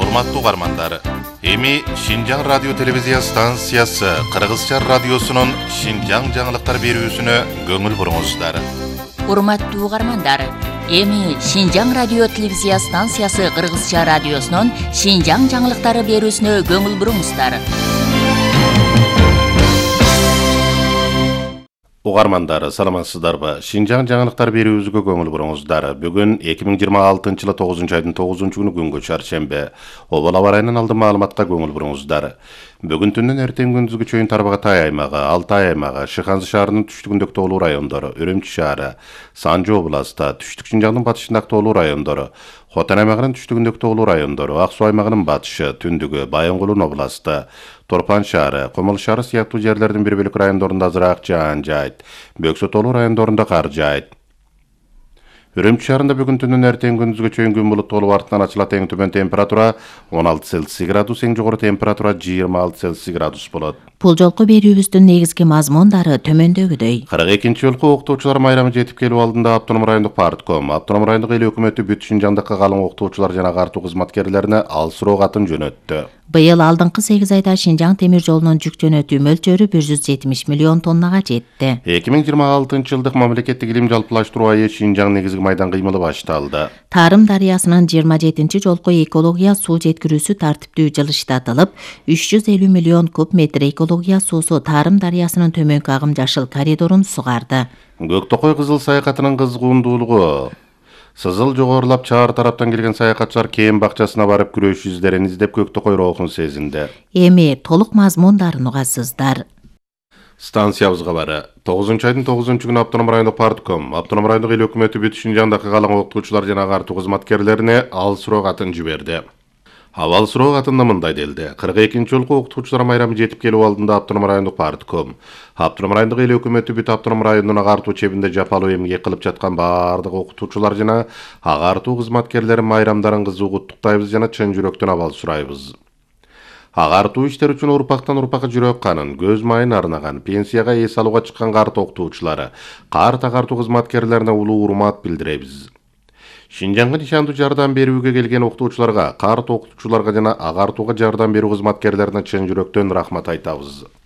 Урматтуу угармандар, эми Шинжаң радио телевизия станциясы Кыргызча радиосунун Шинжаң жаңылыктар берүүсүнө көңүл буруңуздар. Урматтуу угармандар, эми Шинжаң радио телевизия станциясы Кыргызча радиосунун Шинжаң жаңылыктары берүүсүнө көңүл буруңуздар. Угармандар, саламатсыздарбы? Шинжаң жаңылыктар берүүбүзгө көңүл буруңуздар. Бүгүн 2026-жылы 9-айдын 9-күнү күнгө чаршембе. Обол аба ырайынын алдын маалыматка көңүл буруңуздар. Бүгүн түндөн эртең күндүзгү чейин Тарбагатай аймагы, Алтай аймагы, Шыханзы шаарынын түштүгүндөгү тоолуу райондору, Үрүмчү шаары, Санжы областы, түштүк Шинжаңдын батышындагы тоолуу райондору, Хотан аймагынын түштүгүндөгү тоолуу райондору, Ак Суу аймагынын батышы, түндүгү, Байонгулун областы, Торпан шаары, Комол шаары сыяктуу жерлердин бир бөлүк райондорунда азыраак жаан жайт. Бөксө тоолуу райондорунда кар жайт. Үрүмчү шаарында бүгүн түндөн эртең күндүзгө чейин күн булуттуу артынан ачылат. Эң төмөн температура 16 Цельсий градус, эң жогору температура 26 Цельсий градус болот. Бул жолку берүүбүздүн негизги мазмундары төмөндөгүдөй. 42-жолку окутуучулар майрамы жетип келүү алдында Автоном райондук партком, Автоном райондук эл өкмөтү бүт Шинжаңдагы калың окутуучулар жана агартуу кызматкерлерине ал суроо катын жөнөттү. Быйыл алдыңкы 8 айда Шинжаң темир жолунун жүк жөнөтүү мөлчөрү 170 миллион тоннага жетти. 2026-жылдык мамлекеттик илим жалпылаштыруу айы Шинжаң негизги майдан кыймылы башталды. Тарым дарыясынын 27-жолку экология суу жеткирүүсү тартиптүү жылыштатылып, 350 миллион куб метр экология суусу Тарым дарыясынын төмөнкү агым жашыл коридорун сугарды. Көктөкөй кызыл саякатынын кызгуундуулугу. Сызыл жогорулап чаар тараптан келген саякатчылар кээм бакчасына барып күрөш издерин издеп Көктөкөй роохун сезинди. Эми толук мазмундарын угасыздар. Станциябызга бары 9-айдын 9-күнү Автоном райондук партком, Автоном райондук эл өкмөтү бүт Шинжаңдагы калың окутуучулар жана агартуу кызматкерлерине ал суроо катын жиберди. Абал суроо катында мындай делди. 42-жолку окутуучулар майрамы жетип келүү алдында Автоном райондук партком, Автоном райондук эл өкмөтү бүт Автоном районунун агартуу чебинде жапалуу эмгек кылып жаткан баардык окутуучулар жана агартуу кызматкерлери майрамдарын кызуу куттуктайбыз жана чын жүрөктөн абал сурайбыз. Агартуу иштер үчүн урпактан урпакка жүрөк канын, көз майын арнаган, пенсияга эс алууга чыккан карт окутуучулары, карт агартуу кызматкерлерине улуу урмат билдиребиз. Шинжаңга нишандуу жардам берүүгө келген окутуучуларга, карт окутуучуларга жана агартууга жардам берүү кызматкерлерине чын жүрөктөн рахмат айтабыз.